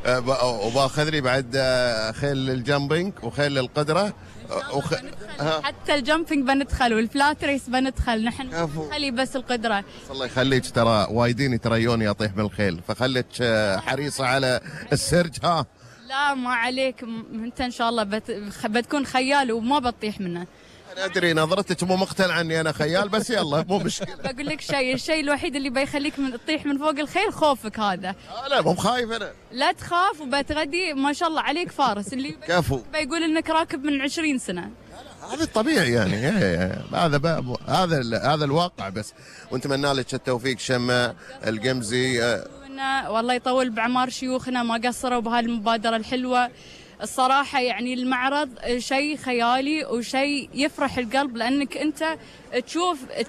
وباخذ لي بعد خيل الجامبينج وخيل القدرة حتى الجامبينج بندخل والفلات ريس بندخل نحن خلي بس القدرة. الله يخليك، ترى وايدين يتريوني اطيح من الخيل، فخليك حريصة على السرج. ها لا ما عليك، انت ان شاء الله بتكون خيال وما بتطيح منه. انا ادري نظرتك مو مقتنعه اني انا خيال، بس يلا مو مشكله. بقول لك الشيء الوحيد اللي بيخليك من تطيح من فوق الخيل خوفك هذا. لا مو خايف انا. لا تخاف وبتغدي ما شاء الله عليك فارس اللي كفو بيقول انك راكب من 20 سنه. هذا الطبيعي يعني. هذا الواقع بس. ونتمنى لك التوفيق شمة القمزي. والله يطول بعمار شيوخنا، ما قصروا بهالمبادره الحلوه الصراحة. يعني المعرض شيء خيالي وشيء يفرح القلب، لأنك أنت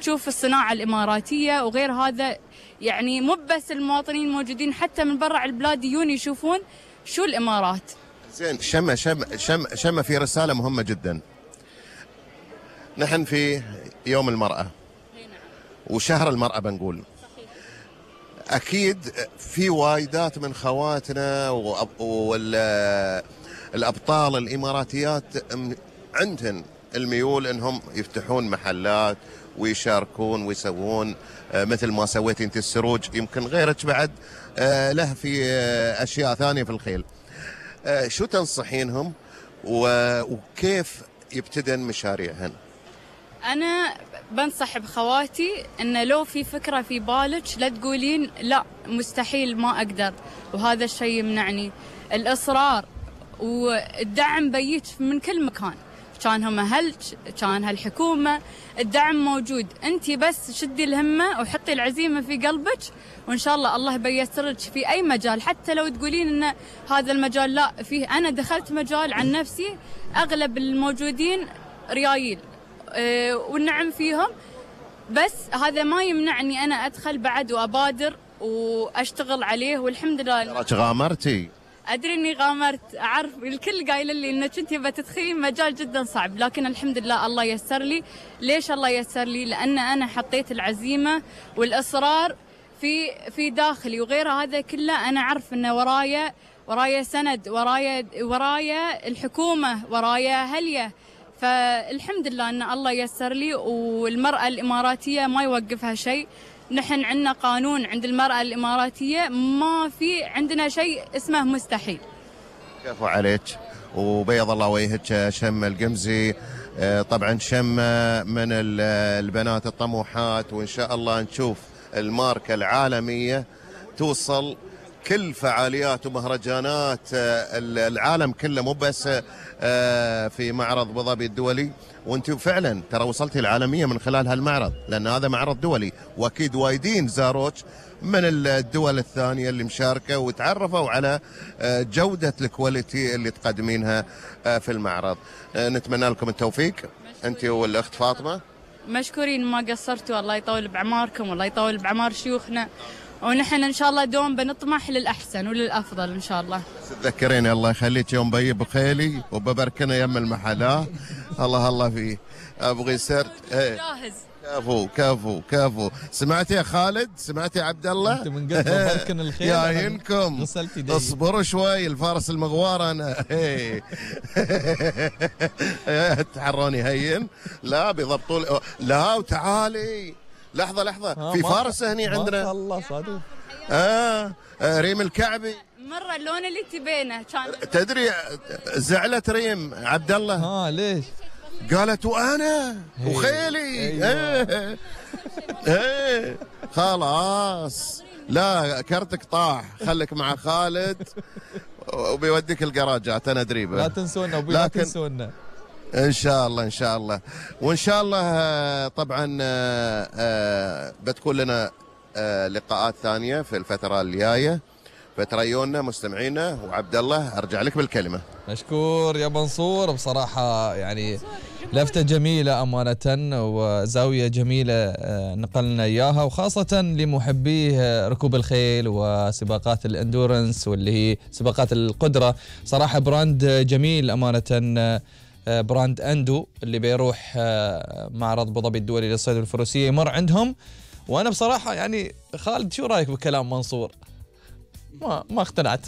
تشوف الصناعة الإماراتية وغير هذا. يعني مو بس المواطنين موجودين، حتى من برا البلاد يجون يشوفون شو الإمارات. زين شمة في رسالة مهمة جدا. نحن في يوم المرأة وشهر المرأة بنقول. أكيد في وايدات من خواتنا الأبطال الإماراتيات عندهن الميول أنهم يفتحون محلات ويشاركون ويسوون مثل ما سويتي أنت السروج. يمكن غيرك بعد له في أشياء ثانية في الخيل. شو تنصحينهم وكيف يبتدن مشاريعهن؟ أنا بنصح بخواتي أن لو في فكرة في بالك لا تقولين لا مستحيل ما أقدر، وهذا الشيء يمنعني. الإصرار والدعم بيت من كل مكان، كان هم أهلك كان هالحكومة، الدعم موجود. أنت بس شدي الهمة وحطي العزيمة في قلبك، وإن شاء الله الله بيسر لك في أي مجال. حتى لو تقولين إن هذا المجال لا فيه، أنا دخلت مجال عن نفسي أغلب الموجودين ريايل والنعم فيهم، بس هذا ما يمنعني أنا أدخل بعد وأبادر وأشتغل عليه. والحمد لله غامرتي. أدري إني غامرت، أعرف الكل قايل لي إنك أنت بتدخلين مجال جدا صعب، لكن الحمد لله الله يسر لي. ليش الله يسر لي؟ لأن أنا حطيت العزيمة والإصرار في داخلي، وغير هذا كله أنا أعرف إنه ورايا سند، ورايا الحكومة، ورايا هلية. فالحمد لله أن الله يسر لي. والمرأة الإماراتية ما يوقفها شيء. نحن عندنا قانون عند المرأة الإماراتية، ما في عندنا شيء اسمه مستحيل. كفو عليك وبيض الله وجهك شمة القمزي. طبعا شمة من البنات الطموحات، وإن شاء الله نشوف الماركة العالمية توصل كل فعاليات ومهرجانات العالم كله، مو بس في معرض ابو ظبي الدولي. وانت فعلا ترى وصلتي العالميه من خلال هالمعرض، لان هذا معرض دولي، واكيد وايدين زاروك من الدول الثانيه اللي مشاركه وتعرفوا على جوده الكواليتي اللي تقدمينها في المعرض. نتمنى لكم التوفيق انت والاخت فاطمه. مشكورين ما قصرتوا، الله يطول بعماركم والله يطول بعمار شيوخنا، ونحن ان شاء الله دوم بنطمح للاحسن وللافضل ان شاء الله. تذكريني الله يخليك يوم بيي بخيلي وببركنا يم المحل. الله فيه ابغي سرت. جاهز. كفو. سمعتي يا خالد؟ سمعتي يا عبد الله؟ انت من قبل بركن الخيل يا ينكم اصبروا شوي، الفارس المغوار انا. تحروني هين. لا بيضبطوا. لا وتعالي لحظة في فارس هني عندنا. ما شاء الله صادق. ريم الكعبي مرة اللون اللي تبينه كان. تدري زعلت ريم عبد الله. ليش؟ قالت وانا وخيلي. ايه خلاص، لا كرتك طاح، خليك مع خالد وبيوديك الجراجات. انا ادري لا تنسونا لا تنسونا. ان شاء الله وان شاء الله طبعا بتكون لنا لقاءات ثانيه في الفتره الجايه، فتريونا مستمعينا. وعبد الله ارجع لك بالكلمه. مشكور يا منصور، بصراحه يعني لفتة جميلة أمانة وزاوية جميلة نقلنا إياها، وخاصة لمحبيه ركوب الخيل وسباقات الاندورنس واللي هي سباقات القدرة. صراحة براند جميل أمانة، براند أندو اللي بيروح معرض أبو ظبي الدولي للصيد والفروسية يمر عندهم. وأنا بصراحة يعني خالد شو رأيك بكلام منصور؟ ما اقتنعت.